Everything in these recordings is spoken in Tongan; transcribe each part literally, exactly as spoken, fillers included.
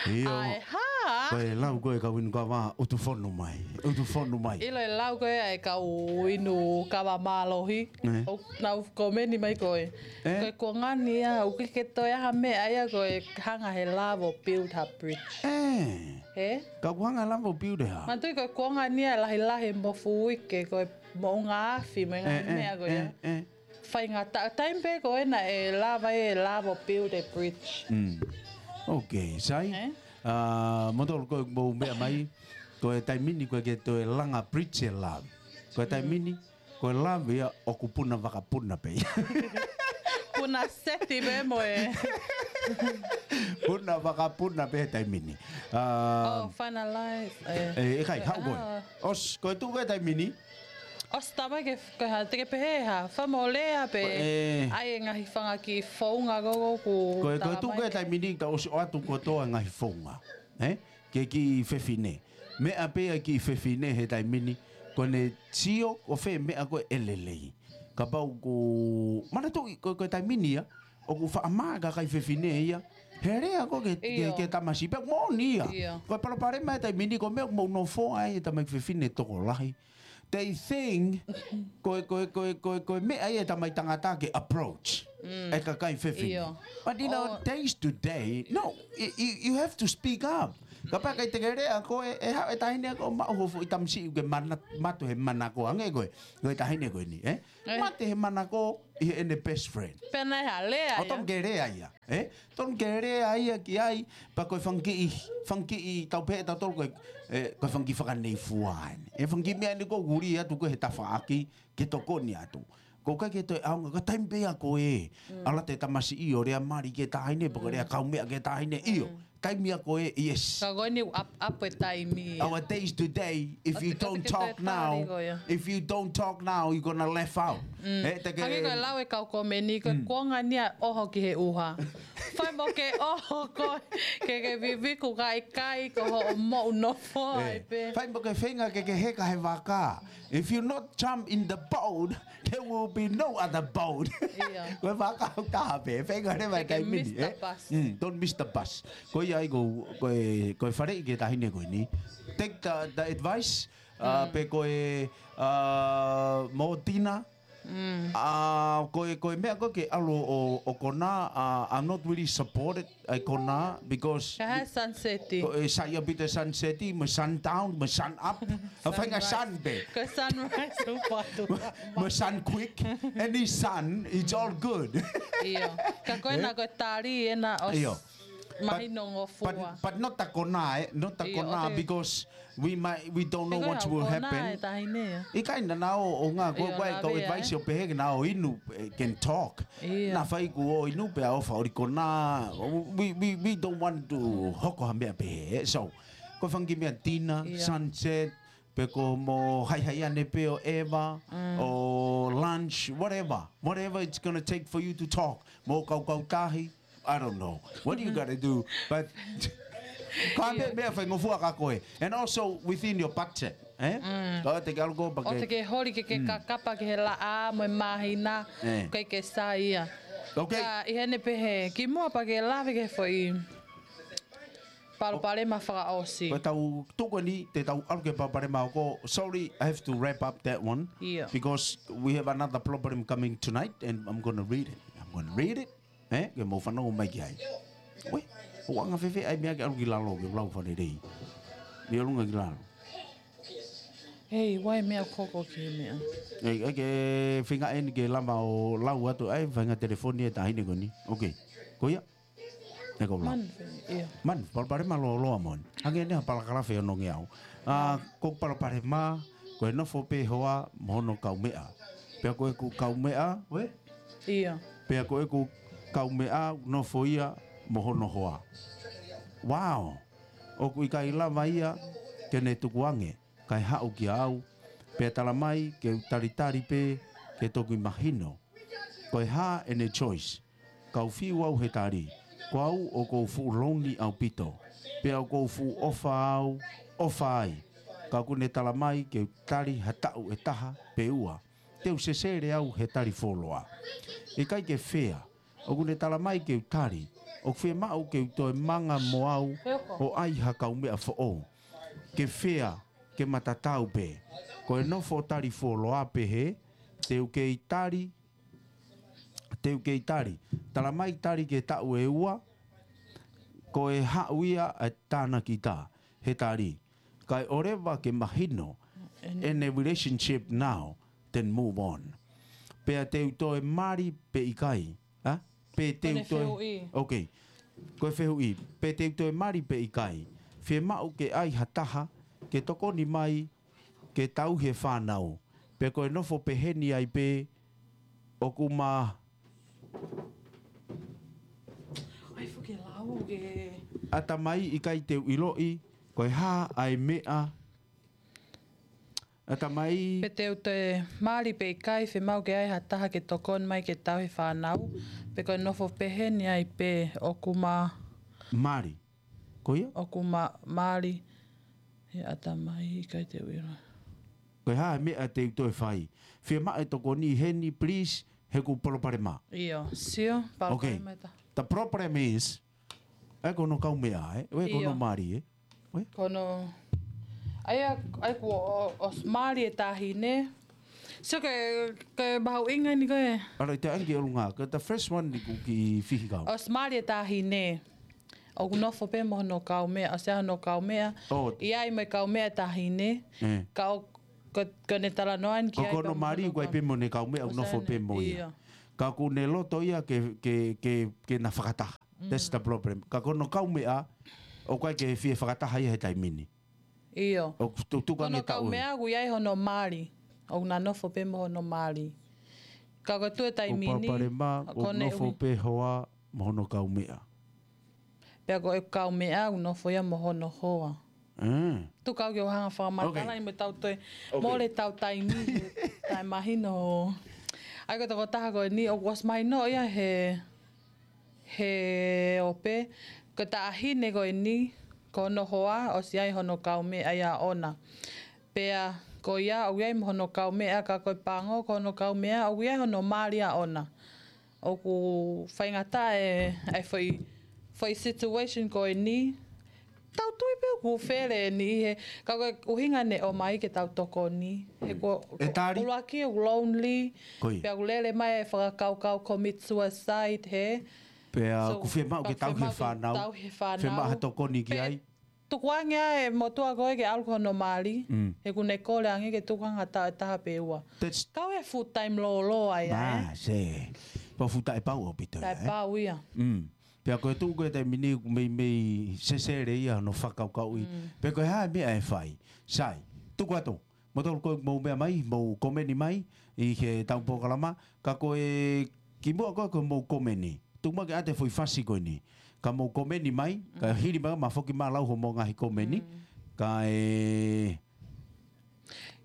ʻIo. ʻAe, hā? Ko e lau ko ē kau inu kava, ʻutu fonu mai. ʻUtu fonu mai. ʻIlo e lau ko ē ʻa e kau inu kava mālohi. Ē. ʻOku nau komeni mai ko ē. Ē. Ko e kuonga ni ia, ʻoku ʻikai ke toe ʻi ai ha meʻa ia ko e hanga he lava ʻo build ha bridge. Ē. Ē? Ka ʻoku hanga lava ʻo build ha. Manatuʻi ko e kuonga ni ia lahilahi mo fuike ko e moʻunga afi mo e ngaahi Ē, ē, meʻa ko ē, ia. Ē. Faingataʻa, taimi pē ko ē naʻe lava e lava ʻo build e bridge. Mm. Ok, sai. Ē? Ah, mo tolu ko e mou meʻa mai, ko e taimi ni ko e ke toe langa bridge e lava. Ko e taimi ni, ko e lava ia ʻoku puna vakapuna pē. Puna seti pē mo e. Puna vakapuna pē taimi ni. Ah, Oh, finalize. Eh. Eh, ʻikai, haʻu ko ē. Ah. ʻOsi, ko e tuʻu ko ē taimi ni, ʻOsi tama ke, ke ha, te ke pehē ha, fai mo lea pē. Ko e ʻai e ngaahi fanga kiʻi founga ko ē ʻoku Ko e, ko e tuʻu ko ē taimi ni ka ʻosi ʻoatu kotoa ngaahi founga. Ē? Ke kiʻi fefine. Meʻa pē ʻa e kiʻi fefine he taimi ni, ko ʻene sio ko fē meʻa ko ē ʻe lelei. Kapau ʻoku, manatuʻi, ko, ko e taimi ni ia, ʻoku faʻa mā e kakai fefine ia. He lea ko ē ke, ke, ʻIo. ke tamasiʻi pē moʻoni ia. ʻIo. Ko e palopalema he taimi ni, ko e meʻa ʻoku mou nofo ai e tamaiki fefine tokolahi. They think, ko e, ko e, ko e, ko e, ko e meʻa ia e tamai tangata ke approach. Mm. E kakai fefine. ʻIo. But you know, Oh. days today, no, y-, y-, you have to speak up. Kapau ʻikai te ke lea ko ē, ʻe haʻu e taʻahine ko ē ʻo maʻu ho foʻi tamasiʻi ke mana-, mate he manako ange ko ē, ko e taʻahine ko eni, ē? Eh. Mate he manako ʻi heʻene best friend. Pea naʻe ha lea ʻO ia. tonu ke lea ia, ē? Tonu ke lea ia ki ai, pea ko e fanga kiʻi, fanga kiʻi tau pehē ʻe tautolu ko e, ē, ko e fanga kiʻi fakaneifua eni. E fanga kiʻi meʻa eni ko ē ʻoku uli atu ko ē he tafaʻaki, ke tokoni atu. ʻOku ʻikai ke toe ʻaonga, ka taimi pē ia ko ē. Mm. ʻAlu atu e tamasiʻi ʻo lea mali ki he taʻahine, pe ko e lea Mm. kaumeʻa ki he taʻahine, ʻio. Mm. Taimi ia ko ē, yes. Ka ko eni ʻoku ʻap-, ʻapu e taimi. Our days today, if you don't talk now, if you don't talk now, you're gonna left out. Mm. Ē, te ke Hangē ko e lau e kau komeni, ko e Mm. kuonga ni ia ʻoho ki he ʻuha. Fai mo ke ʻoho ko ē, ke ke viviku kaikai ko hoʻo moʻu nofo ai Ē, pē. fai mo ke feinga ke ke heka he vaka. If you not jump in the boat, there will be no other boat. ʻIo. Ko e vaka ʻoku taha pē, feinga leva Take a taimi ni, Mister ē? Bus. Mm, don't miss the bus. Ko ia ai ko, ko e, ko e faleʻi ki he taʻahine ko eni. Take the, the advice, uh, Mm. pe ko e, uh, mo Tina. Mm. Uh, ko e, ko e meʻa ko ē ke ʻalu ʻo, ʻo kona, uh, I'm not really supported ʻa e kona, because Ka ha sunset. Ko e sai ʻaupito e sunset, mo e sundown, mo e sun up. ʻA e faʻahinga Sunrise. sun pē. Ko e sunrise, upa atu. Mo e sun quick. Any sun, it's all good. ʻIo. Ka ko ena Ē? ko e tali ena ʻosi ʻIo. But, mahino ngofua. but, but not the kona, eh? Not the ʻIo, kona, ʻo te because we might, we don't know He ko what e will hau kona happen. e taʻahine ia. ʻIkai naʻa nau ʻo ngā, ko ʻIo, ko e nā kau vea, advice eh? ʻo pehē ke nau inu, eh, can talk. ʻIo. Nā fai kuo inu pea ʻofa ʻoli kona. We, we, we don't want to hoko ha meʻa pehē, eh? So, ko e fanga kiʻi meʻa dinner, ʻIo. sunset, pe ko mo haihaiane pē ʻo ʻeva, Mm. or lunch, whatever. Whatever it's gonna take for you to talk. Mo kaukau tahi, I don't know. What do you gotta do? But ka ʻIo. meʻa, meʻa faingofua kia koe. And also within your budget, eh? Mm. Ka te ke ʻalu ko ʻo pake te ke holi ke ke Mm. kakapa ki he laʻā mo e māhina, Eh. ʻikai ke sai ia. Okay. Ka ʻi heʻene pehē, kimuʻa pea ke lave ki he foʻi palopalema fakaʻosi. Ko e tau tuku ni, te tau ʻalu ki he palopalema ʻo ko, sorry, I have to wrap up that one. ʻIo. Because we have another problem coming tonight, and I'm gonna read it. I'm gonna read it. Eh, ke mou fanongo mai ki ai. Ue, ʻoku anga fēfē ʻa e meʻa ke ʻalu ki lalo, ke lau fanelei. Mei ʻolunga ki lalo. Hei, ʻoua e meʻa ʻoku hoko ki he meʻa. Ei, ei, ke feinga eni ke lava ʻo lau atu ʻa e faʻahinga telefoni e taʻahine ko eni. Okay. Ko ia? Ē, ko lau. Man, ʻio. Man, palopalema lōloa mo eni. Hangē eni ha palakalafe ʻo nongi au. Ah, ko palopalema, ko e nofo pē hoa mo hono kaumeʻa. Pea ko ʻeku kaumeʻa, ue? ʻIo. Pea ko ʻeku kaumeʻa nofo ia mo hono hoa. Wow. ʻOku ʻikai lava ia ke ne tukuange, kae haʻu kia au. Pea tala mai ke u talitali pē ke toki mahino. Ko e hā ʻene choice? Kau fiu au he tali. Ko au ʻoku ou fuʻu lonely ʻaupito. Pea ʻoku ou fuʻu ʻofa au, ʻofa ai. Ka ʻoku ne tala mai ke u tali ha taʻu ʻe taha pe ua. Te u sesele au he tali fuoloa. ʻIkai ke fair. ʻOku ne tala mai ke u tali. ʻoku fiemaʻu ke u toe manga mo au ʻo ʻai ha kaumeʻa foʻou. Ke fea, ke matatau pē. Ko e nofo tali fuoloa pē he, te u kei tali, te u kei tali. Tala mai tali ke taʻu ʻe ua, ko e haʻu ia ʻa e tānaki tā, he tali. Kae ʻoleva ke mahino, in a relationship now, then move on. Pea te u toe mali pe ʻikai, ha? Pe te u toe, okay. Ko e fehuʻi, pe te u toe mali pe ʻikai. Fiemaʻu ke ʻai ha taha, ke tokoni mai, ke tauhi e fānau. Pe ko e nofo peheni ai pē, ʻoku ma ʻAtamai ʻikai te u ʻiloʻi, ko e hā ʻa e meʻa. ʻAtamai. Pe te u toe mali pe ʻikai, fiemaʻu ke ʻai ha taha ke tokoni mai ke tauhi e fānau. Pe ko e nofo peheni ai pē, ʻoku ma mali. Ko ia? ʻOku ma mali. He ʻatamai ʻikai te u ʻiloʻi. Ko e hā e meʻa te u toe fai. Fiemaʻu e tokoni heni, please, he ʻoku ou palopalema. ʻIo, sio, palopalema. Okay. The problem is, ʻa ia ko hono kaumeʻa, ē? ʻA ia ko hono mali, ē? Ko hono, ʻa ia, ʻa ia kuo ʻo, ʻosi mali e taʻahine. Sio ke, ke mahuʻinga eni ko e. ʻAlu ʻi te angi ʻolunga, ko the first one ni kuo kiʻi fihikau. ʻOsi mali e taʻahine. ʻOku nofo pē mo hono kaumeʻa, ʻosi ʻi ai hono kaumeʻa. ʻI ai mo e kaumeʻa e taʻahine. Ka ʻoku, ko, ko ʻene talanoa eni ki ai ko hono mali, ʻoku ʻi ai pē mo ʻene kaumeʻa, ʻoku nofo pē mo ia. Ka ʻoku ne loto ia ke, ke, ke, ke na fakataha. That's the problem. Ka ko hono kaumeʻa, ʻoku ʻikai ke fie fakataha ia he taimi ni. ʻIo. ʻOku tu-, tuku ange taʻu ē. Ko hono kaumeʻa ʻoku ʻi ai hono mali. ʻOku na nofo pē mo hono mali. Ka ko e tuʻu e taimi ni, ʻoku palopalema, ʻoku nofo pē hoa mo hono kaumeʻa. Pea ko e kaumeʻa ʻoku nofo ia mo hono hoa. Tuku au ke u hanga fakamatala ʻi mo tau toe. Mole tau taimi, taʻemahino. ʻA ia ko e tokotaha ko eni, ʻoku ʻosi mahino ia he he ope, ko e taʻahine ko eni, ko hono hoa, ʻosi ʻi ai hono kaumeʻa ia ʻoʻona. Pea, ko ia, ʻoku ʻi ai mo hono kaumeʻa, ka ko e pango, ko hono kaumeʻa, ʻoku ʻi ai hono mali ia ʻoʻona. ʻOku faingataʻa e, e foʻi, foʻi situation ko eni, tau tui pē ʻoku fele eni he, ka ko e ʻuhinga ʻene ʻomai ke tau tokoni. He ko, ʻuluaki ʻoku lonely, pea ʻoku lele mai e fakakaukau commit suicide he. Pea ʻoku fiemaʻu ke tauhi e fānau. Fiemaʻu ha tokoni ki ai. Tuku ange ʻa e motuʻa ko ē ke ʻalu ko hono mali. He ʻoku ne kole ange ke tuku ange ha taʻu ʻe taha pe ua. Kau he full time lōloa ia ē. Pau full time pau ʻaupito ia ē. Taʻepau ia. Pea ko e tuʻu ko ē taimi ni ʻoku meimei sesele ia hono fakakaukauʻi. Pea ko e hā e meʻa ʻe fai. Sai, tuku atu. Mou tolu ko ē mou meʻa mai, mou komeni mai, ʻi heʻetau polokalama, ka ko e kimuʻa ko ē ko e mou komeni. Tuku mai ke ʻoatu e foʻi fasi ko eni. Ka mou komeni mai, ka hili mai ma foki ma lau homou ngaahi komeni. Ka e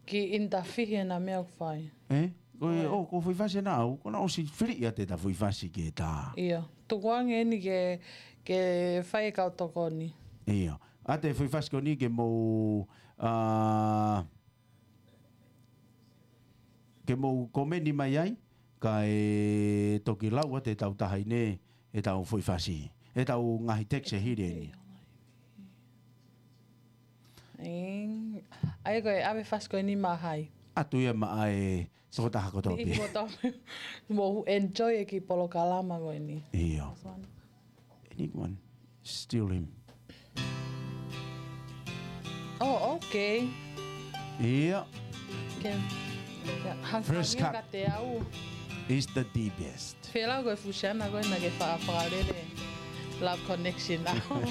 Ki intafihi ena meʻa ʻoku fai. Ē? Ko e, ʻo, ko e foʻi fasi ena au, ko ena ʻosi fili ia te ta foʻi fasi ke ta. ʻIo. Tuku ange eni ke, ke fai e kau tokoni. ʻIo. ʻOatu e foʻi fasi ko eni ke mou, ā, ke mou komeni mai ai, ka e toki lau atu ʻe tau taha ʻi ne, ʻetau foʻi fasi. ʻEtau ngaahi text ʻe hili eni. ʻIo, ʻa ia ko e ʻave fasi ko eni maʻa hai. ʻOatu ia maʻa e tokotaha kotoa pē. Kotoa pē. Mou enjoy e kiʻi polokalama ko eni. ʻIo. Anyone? Still him. Oh, okay. ʻIo. First cut. Is the deepest. Fēlau ko e fusiana ko ē naʻa ke fa-, fakalele Love Connection au.